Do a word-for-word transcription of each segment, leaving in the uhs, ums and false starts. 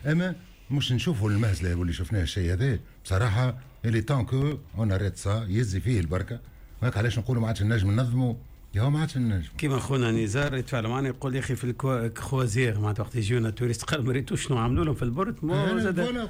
اما مش نشوفوا المهزلة واللي شفناه الشيء هذا بصراحة. il est temps qu'on arrête ça، يزي فيه البركة. هاك علاش نقولوا ما عادش نجم ننظموا، يا ما عادش نجم. كيما خونا نزار يتفاعل معنا يقول يا اخي في ال croisière معناتها وقت يجيونا touristes قال ما ريتوش شنو عملوا لهم في ال port،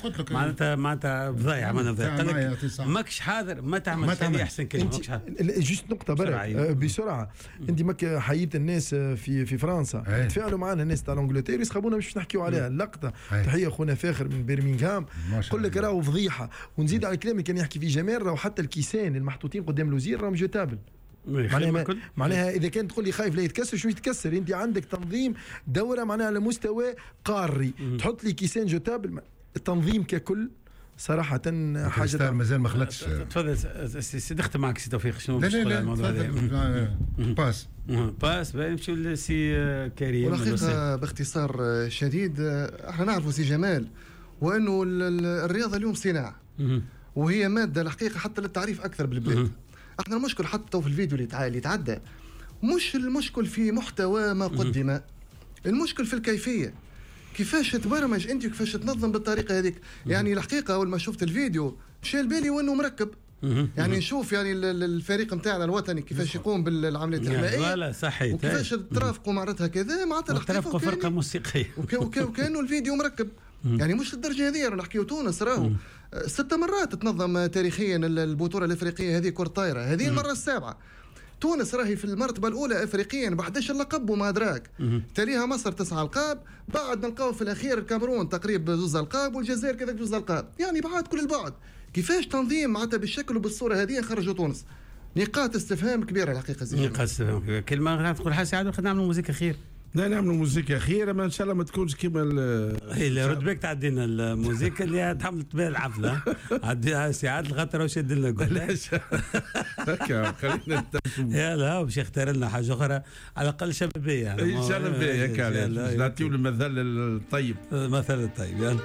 قلت لك معناتها معناتها فضايع، معناتها فضايع. قال لك ماكش حاضر ما تعمل، هذه احسن كلمه، ماكش حاضر. juste نقطة برك بسرعه، انت ماك حييت الناس في في فرنسا، تفاعلوا معنا الناس تاع l'Angleterre يسخبونا باش نحكيو عليها اللقطه. تحية خونا فاخر من برمنغهام، قل لك راهو فضيحه. ونزيد على الكلام اللي كان يحكي فيه جمال، راهو حتى الكيسان المحطوطين قدام الوزير راهم jetables. معناها معناها اذا كان تقول لي خايف لا يتكسر، شو يتكسر؟ انت عندك تنظيم دوره معناها على مستوى قاري، تحط لي كيسان jetables. التنظيم ككل صراحة حاجة مازال ما خلطش. تفضل سي، نختم معك سي توفيق، شنو باش تقول على الموضوع هذا؟ passe passe نمشيو لسي كريم. والحقيقة باختصار شديد، احنا نعرفوا سي جمال وانه الرياضة اليوم صناعة، وهي مادة الحقيقة حتى للتعريف أكثر بالبلاد. احنا المشكل حتى في الفيديو اللي اللي تعدى مش المشكل في محتوى ما قدم، المشكل في الكيفية، كيفاش تبرمج انت وكيفاش تنظم بالطريقة هذيك. يعني الحقيقة اول ما شفت الفيديو مشى بالي وانه مركب، يعني نشوف يعني الفريق نتاعنا الوطني كيفاش يقوم بالعمليات الحمائيه، لا صحيح، وكيفاش ترافقوا معناتها كذا، معناتها ترافقوا فرقه موسيقية وكانه الفيديو مركب. يعني مش للدرجة هذه. نحكيو تونس راهو ست مرات تنظم تاريخيا البطولة الافريقية هذه كره طايره، هذه المرة السابعة. تونس راهي في المرتبة الاولى افريقيا ب احداش لقب وما ادراك، تليها مصر تسعة القاب، بعد نلقاو في الاخير الكاميرون تقريبا زوز القاب، والجزائر كذلك زوز القاب، يعني بعد كل البعد. كيفاش تنظيم معناتها بالشكل وبالصوره هذه خرجوا تونس؟ نقاط استفهام كبيرة الحقيقة. زي نقاط استفهام كبيرة. كلمة تقول حاجة عاد نعملوا موزيكا خير. لا نعملوا موزيكا خير، اما ان شاء الله ما تكونش كيما ال رد بالك تعدينا الموزيكا اللي تعملت بها الحفلة، عديها سي عادل خاطر واش لنا. علاش هكا خلينا يلا باش يختار لنا حاجة اخرى على الاقل شبابية. يعني شبابية هكا نعطيو المثل الطيب. المثل الطيب يلا.